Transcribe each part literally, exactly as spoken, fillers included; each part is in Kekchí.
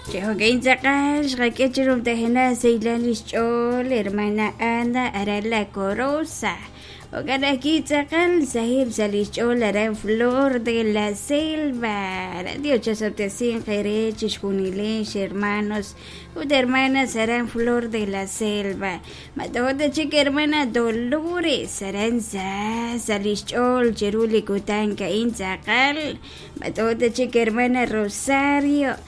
Chijokin tz'aqal xqak'e chi rumtajena seylan lixch'ool hermana Ana aran La Corosa jo'kan ajwi' tz'aqal sahib sa' lixch'ool aran Flor de la Selva aran Dios chasob'tesinq eere chixjunilex hermanos ut hermanas aran Flor de la Selva mato'ta chik hermana Dolores aran sa sa' lixch'ool chiru li kutan ka'in tz'aqal mato'ta chik hermana Rosario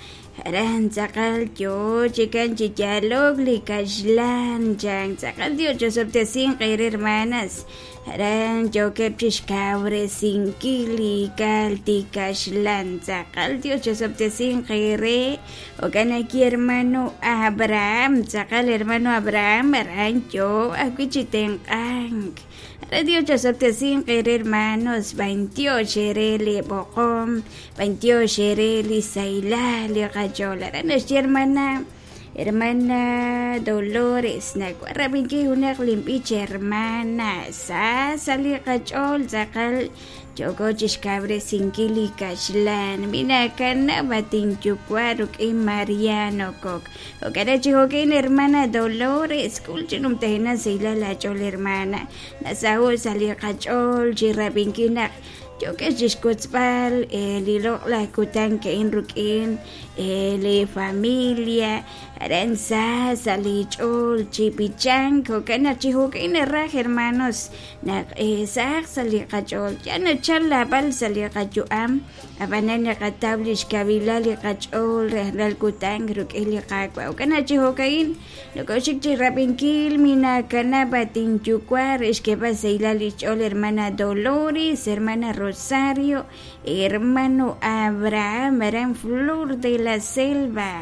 aran tz'aqal yoo chikan chi yalok li kaxlan chan tz'aqal Dios chasob'tesinq eere hermanas aran yookeb' chixkawresinkil li kal tikaxlan tz'aqal Dios chasob'tesinq eere jo'kan ajwi' hermano Abraham tz'aqal hermano Abraham aran yoo ajwi' chi tenq'ank aran Dios chasob'tesinq eere hermanos b'antiox eere li b'oqom b'antiox eere li saylal li qach'ool aran naxye hermana hermana Dolores nawaj rab'inkil junaq linb'ich hermana sa sa' li qach'ool tz'aqal yooko chixkawresinkil li kaxlan minakanab' atinyuwa' ruk'in Mariano Coc jo'kan chi jo'kin hermana Dolores k'ul chi numtajena saylal ach'ool hermana nasaho' sa' li qach'ool chi rab'inkil naq yookeb' chixkotzb'al li loq'laj kutan ka'in ruk'in li familia aran sa sa' li ch'ool chi b'ichank jo'kan naq chi jo'kin naraj hermanos naq saq sa' li qach'ool ya nachal lab'al sa' li qayu'am ab'anan naqataw lix kawilal li qach'ool rajlal kutan ruk'in li Qaawa' jo'kan naq chi jo'ka'in nokoxik chi rab'inkil minakanab' atinyuwa' re xk'eeb'al saylal li xch'ool hermana Dolores hermana Rosario hermano Abraham aran Flor de la Selva.